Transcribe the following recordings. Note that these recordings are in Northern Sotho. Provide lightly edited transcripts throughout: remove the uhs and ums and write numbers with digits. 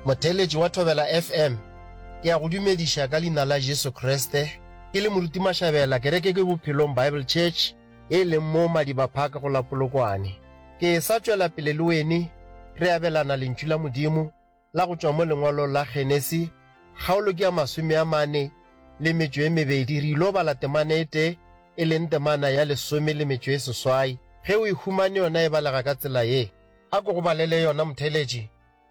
Motheeletši wa Thobela FM, ke a go dumediša ka leina la Jesu Kriste. Ke le Moruti Mashabela, kereke ke Bophelong Bible Church e leng mo Madiba Park go la Polokwane. Ke sa tšwela pele le wene re abelana Lentšu la Modimo la go tšwa mo lengwalong la Genesi, kgaolo ke ya 40 le metšo e mebedi. Re ilo bala temana e tee, e leng temana ya lesome le metšo e seswai. Ge o e humane yona e balega ka tsela ye. A ko go balele yona motheeletši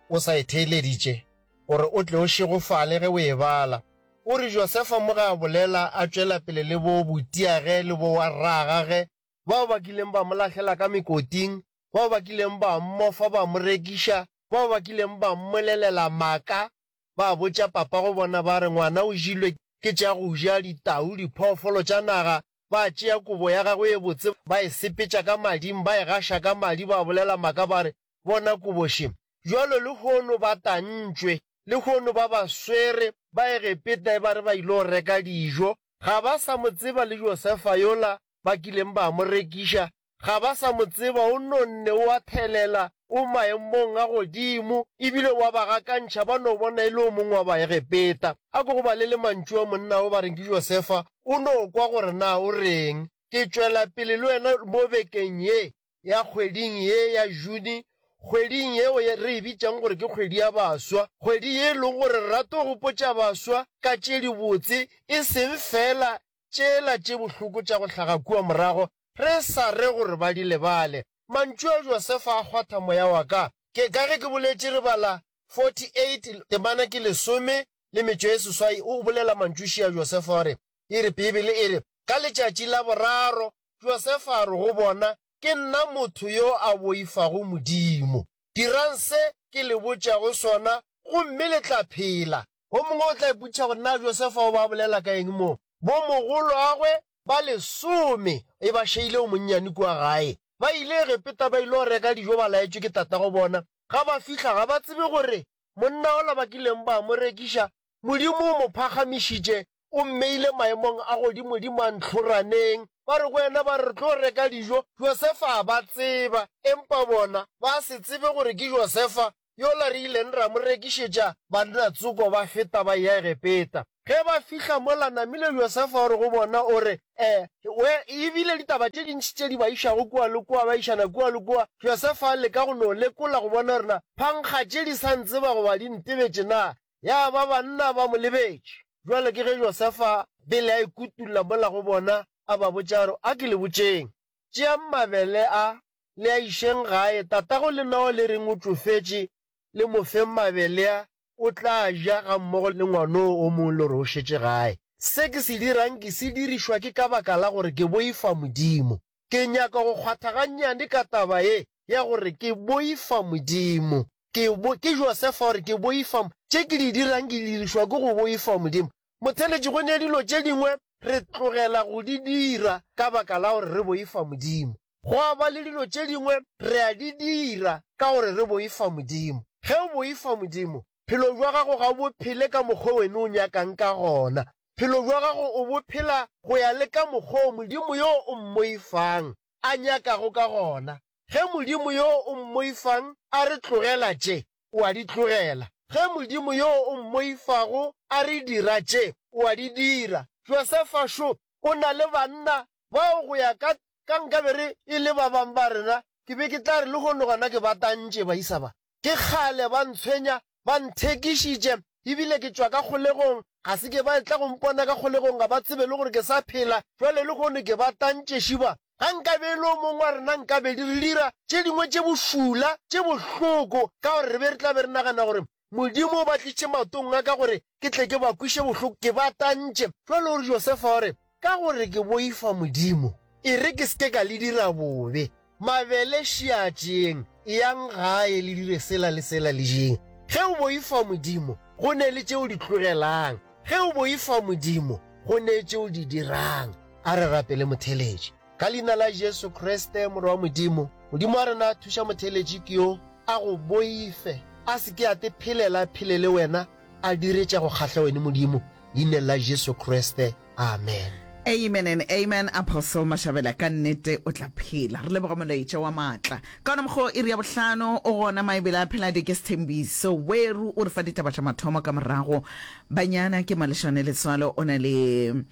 o sa e theeleditše, gore o tle o šegofale ge o e bala. O re, Josefa mo ge a bolela a tšwela pele le bo butiage le bo rragage, bao ba kileng ba mo lahlela ka mekoting, bao ba kileng ba mmofa ba mo rekiša, bao ba kileng ba mmolelela maaka, ba botša papago bona ba re, Ngwana o jilwe ke tša go ja ditau, diphoofolo tša naga, ba tšea kobo ya gagwe e botse ba e sepetša ka mading, ba e gaša ka madi, ba bolela maaka ba re, Bona kobo še. Bjalo lehono ba tantšwe, lehono ba ba swere, ba Egepeta e ba re ba ilo reka dijo, ga ba sa mo tseba le Josefa yola ba kileng ba mo rekiša, ga ba sa mo tseba, o nonne, o a thelela, o maemong a godimo, e bile o a ba gakantšha, ba no bona e le o mongwe wa Baegepeta. A ko go balele mantšu a monna o ba reng ke Josefa, o no kwa gore na o reng. Ke tšwela pele le wena mo bekeng ye ya kgweding ye ya June, kgweding yeo re e bitšang gore ke kgwedi ya baswa, kgwedi ye e lego gore re rata go gopotša baswa ka tše dibotse, e seng feela tšela tše bohloko tša go hlaga kua morago, re sa re gore ba di lebale. Mantšu a Josefa a kgwatha moya wa ka. Ke, ka ge ke boletše, re bala 48, temana ke lesome le metšo e seswai, o bolela mantšu a Josefa o re, e re, Beibele e re, Ka letšatši la boraro Josefa a re go bona, Ke nna motho yo a boifago Modimo. Dirang se ke le botšago sona gomme le tla phela. O mongwe o tla ipotšiša gore na Josefa o be a bolela ka eng mo. Bomogolwagwe ba lesome e ba šeile o monnyane kua gae. Ba ile Egepeta ba ile go reka dijo ba laetšwe ke tatago bona. Ga ba fihla ga ba tsebe gore monna ola ba kileng ba mo rekiša Modimo o mo phagamišitše, o mmeile maemong a godimodimo a ntlhoraneng. Ba re go yena, ba re, Re tlo reka dijo. Josefa a ba tseba, empa bona ba se tsebe gore ke Josefa yola re ileng ra mo rekišetša banna tsoko ba feta ba eya Egepeta. Ge ba fihla mola, namile Josefa o re go bona, o re, E, we, e bile ditaba tše dintši tše di ba išago kua le kua, ba išana kua le kua. Josefa a leka go no lekola go bona gore na phankga tše di sa ntseba goba di ntebetše na. Ya ba banna ba mo lebetše. Bjale ke ge Josefa pele a ikutulla mola go bona, a ba botša a re, A ke le botšeng, tšeang mabele a, le a išeng gae, tatago lena o le reng o tšofetše, le mo feng mabele a, o tla ja gammogo le ngwanoo o mongwe le gore o šetše gae. Se ke se dirang ke se dirišwa ke ka baka la gore ke boifa Modimo. Ke nyaka go kgwatha gannyane ka taba ye ya gore ke boifa Modimo. Ke, ke Josefa o re, Ke boifa, tše ke di dirang ke di dirišwa ke go boifa Modimo. Motheeletši, go ne dilo tše dingwe re tlogela go di dira ka baka la gore re boifa Modimo. Gwa ba le dilo tše dingwe re a di dira ka gore re boifa Modimo. Ge o boifa Modimo, phelo bja gago ga o bo phele ka mokgwa wene o nyakang ka gona. Phelo bja gago o bo phela go ya le ka mokgwa o Modimo yo o mmoifang a nyakago ka gona. Ge Modimo yo o mmoifang a re tlogela tše, o a di tlogela. Ge Modimo yo o mmoifago a re dira tše, o a di dira. Josefa šo, o na le banna bao go ya ka, ka nkabe re e le ba bang ba rena, ke be ke tla re lehono gona ke ba tantše baisa ba. Ke kgale ba ntshwenya, ba nthekišitše, e bile ke tšwa ka kgolegong. Ga se ke ba etla go mpona ka kgolegong, ga ba tsebe le gore ke sa phela. Bjale lehono ke ba tantše šiba. Ga nkabe e le o mongwe wa rena nkabe di re dira tše dingwe tše bošula, tše bohloko, ka gore re be re tla be re nagana gore Modimo o ba tlišitše maotong a ka gore ke tle ke ba kweše bohloko, ke ba tantše. Bjale o re Josefa o re, Ka gore ke boifa Modimo, e re ke se ke ka le dira bobe. Mabele šiatšeng, eyang gae le dire sela le sela le jeng. Ge o boifa Modimo, go ne le tše o di tlogelang. Ge o boifa Modimo, go ne tše o di dirang. A re rapele motheeletši. Ka Leina la Jesu Kriste, Morwa wa Modimo, Modimo wa rena, thuša motheeletši ke yo a go boife, a se ke a te phelela, a phele le wena, a dire tša go kgahla wene Modimo, Leineng la Jesu Kriste. Amen. Amen and amen Apostle Mashabela ka nnete o tla phela. Re leboga molaetša wa maatla. Ka ona mokgwa iri ya bohlano o gona maebele a phela ke Sthembiso Weru o re fa ditaba tša mathomo ka morago. Banyana ke Maleshane Letswalo o na le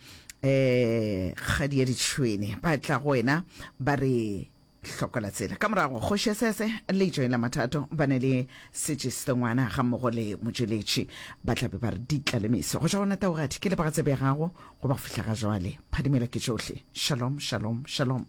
eh kgadi ya ditšhwene ba tla go wena ba re Hlokola tsela. Ka morago, Kgoši ya Sese le Joela Mathato ba ne le Setšestengwana gammogo le Motšweletši ba tla be ba re ditla le meso. Go tšwa gona Taugadi, ke leboga tsebe ya gago go ba go fihla ga jwale. Phadimela ke tšohle. Shalom, shalom, shalom.